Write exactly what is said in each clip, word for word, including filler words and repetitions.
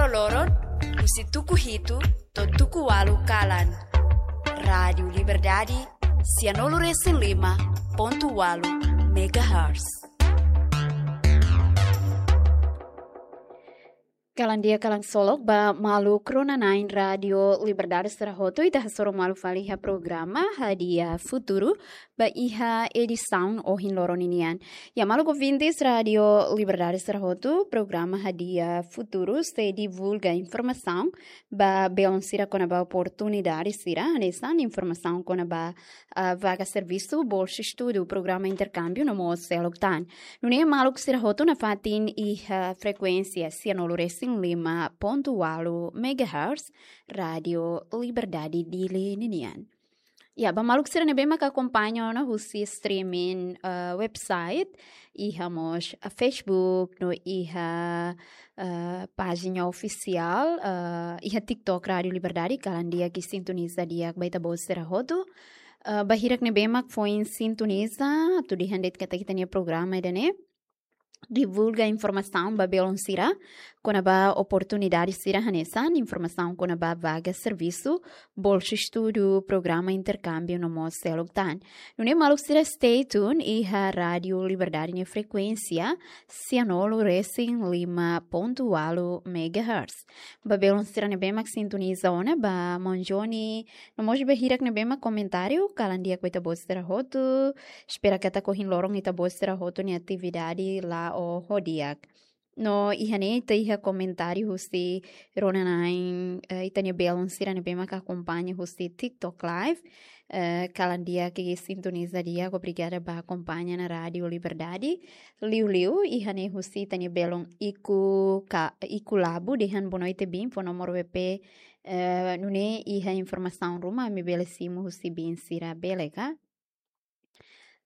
loron, husi tuku hitu to'o tuku ualu kalan. Rádiu Liberdade, sianulu resin lima pontu ualu megahertz. Kalan di'ak, kalan solok ba maluk rona-na'in Rádiu Liberdade sira hotu, ita hasoru malu fali iha programa Hadi'a Futuru ba iha edisaun ohin loron ninian. Ya, maluk ouvintes Rádiu Liberdade sira hotu, programa Hadi'a Futuru sei divulga informasaun ba belun sira kona-ba oportunidade sira, hanesan informasaun kona-ba, ah, vaga servisu, bolsa estudu, programa interkámbiu no mós seluk tan. Nune'e maluk sira hotu nafatin iha frekuénsia sianulu resin lima pontu ualu megahertz, Rádiu Liberdade Dili ninian. Ya, ba maluk sira ne'ebé maka akompaña ona husi streaming, eh, website, iha mós, eh, Facebook, no iha, eh, pájina ofisiál, eh, iha TikTok Rádiu Liberdade, kalan di'ak i sintoniza di'ak ba ita-boot sira hotu. Eh, ba hirak ne'ebé mak foin sintoniza, atu dehan de'it katak ita-nia programa ida-ne'e divulga informasaun ba belun sira kona-ba oportunidade sira, hanesan informasaun kona-ba vaga servisu, bolsa estudu, programa interkámbiu no mós seluk tan. Nune'e maluk sira stay tune iha Rádiu Liberdade nia frekuénsia sianulu resin lima pontu ualu megahertz. Ba belun sira ne'ebé mak sintoniza ona, ba maun Johnny, no mós ba hirak ne'ebé mak komentáriu, kalan di'ak ba ita-boot sira hotu. Espera katak ohin loron ita-boot sira hotu nia atividade la'o ho di'ak. No iha ne'e ita iha komentáriu husi rona-na'in, eh, ita-nia belun sira ne'ebé maka akompaña husi TikTok Live. Eh, kalan di'ak i sintoniza di'ak, obrigada ba akompaña ona Rádiu Liberdade. Liuliu iha ne'e husi ita-nia belun Iku Ka-, Iku Labu, dehan boa noite biin, fó nomor W P, eh, nune'e iha informasaun ruma ami bele simu husi biin sira, bele ka?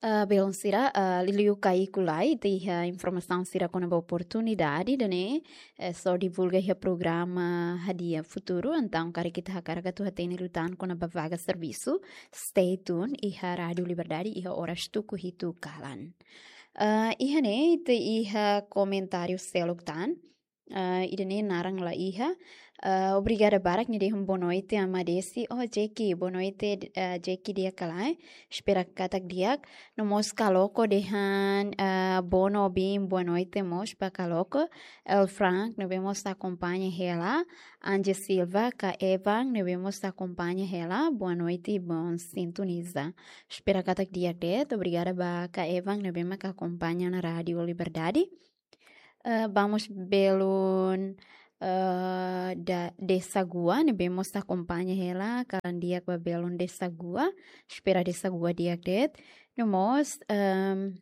Eh, belun sira, eh, liuliu ka Iku Labu, ita iha informasaun sira kona-ba oportunidade ida-ne'e, eh, sei divulga iha programa Hadi'a Futuru, entaun karik ita hakarak atu hatene liután kona-ba vaga servisu, stay tune iha Rádiu Liberdade iha oras tuku hitu kalan. Eh, iha ne'e ita iha komentáriu seluk tan. Eh, ida-ne'e naran la iha. Eh, obrigada barak, nia dehan boa noite, Ama Desi. Oh, Jeki, boa noite, eh, Jeki, di'ak ka lae? Espera katak di'ak. No mós Kaloko dehan, eh, boa no biin, boa noite mós ba Kaloko. El Frank ne'ebé mós akompaña hela. Angie Silva, ka Evan ne'ebé mós akompaña hela, boa noite, bom sintoniza. Espera katak di'ak de'it, obrigada ba ka Evan ne'ebé maka akompaña ona Rádiu Liberdade. Eh, vamos belun, eh, da, Desagua, ne'ebé mós akompaña hela, kalan di'ak ba belun Desagua, espera Desagua di'ak de'it. No mós, ehm,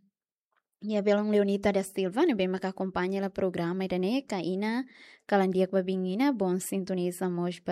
ya belun Leonita da Silva, ne'ebé maka akompaña hela programa ida-ne'e, ka Ina, kalan di'ak ba biin Ina, bom sintoniza mós ba